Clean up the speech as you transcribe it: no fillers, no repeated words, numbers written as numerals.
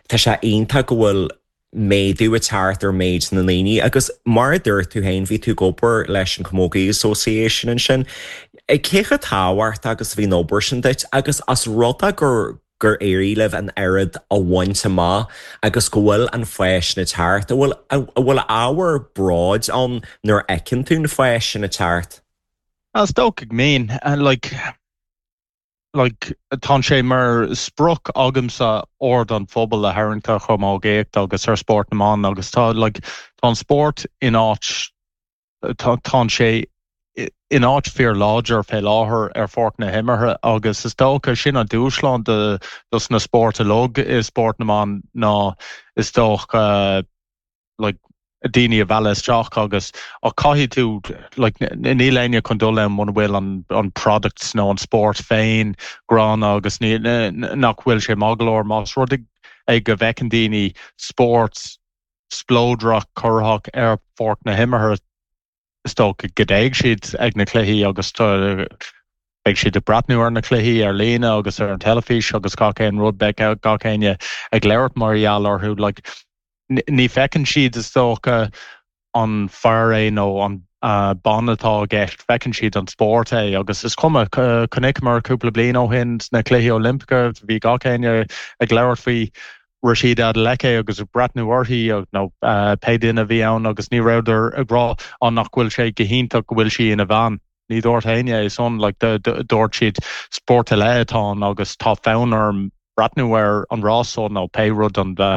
Tá sé iontach go bhfuil méadú ag teacht ar méid na ndaoine agus mar a dúirt tú féin, bhí tú ag obair leis an Camogie Association ansin. Cé chomh tábhachtach agus a bhí an obair sin duit agus as rud é gur gur éirigh libh an oiread a bhaint amach agus go bhfuil an fás sin ag teacht, an bhfuil an bhfuil ábhar bróid ann nuair a fheiceann tú an fás sin ag teacht? Is dócha go mbíonn. Like, like, tá sé mar sprioc agamsa aird an phobail a tharraingt ar chamógaíocht agus ar spórt na mban agus tá, like, tá an spórt in áit, tá, tá sé in áit fíorláidir fé láthair ar pháirc na himeartha agus is dócha sin an dúshlán do dos na spóirt uilig i spórt na mban ná is dócha like daoine a mhealladh isteach agus ach caithfidh tú like níl éinne chun dul ann muna bhfuil an an product nó an spórt féin gránna agus ní nach bhfuil sé maith go leor más rud é go bhfeiceann daoine spórt spleodrach corraitheach ar pháirc na himeartha is dócha go dtéigh siad ag na cluichí agus beidh siad ag breathnú ar na cluichí ar líne agus ar an teilifís agus gach aon rud, beidh gach éinne ag labhairt mar gheall orthu. Like, ní feiceann siad is dócha an fear é nó an bean atá i gceist, feiceann siad an spórt é agus is cuma, chonaiceamar cúpla bliain ó shin sna Cluichí Oilimpeacha, bhí gach éinne ag labhairt faoi Rhasidat Adeleke agus ag breathnú uirthi nó pé duine a bhí ann agus ní rabhadar ag rá á nach bhfuil sé go hiontach go bhfuil sí ina bhean. Ní dúirt éinne é san, like dúirt siad spórt eile atá ann agus tá fonn orm breathnú ar an rás so nó pé rud an.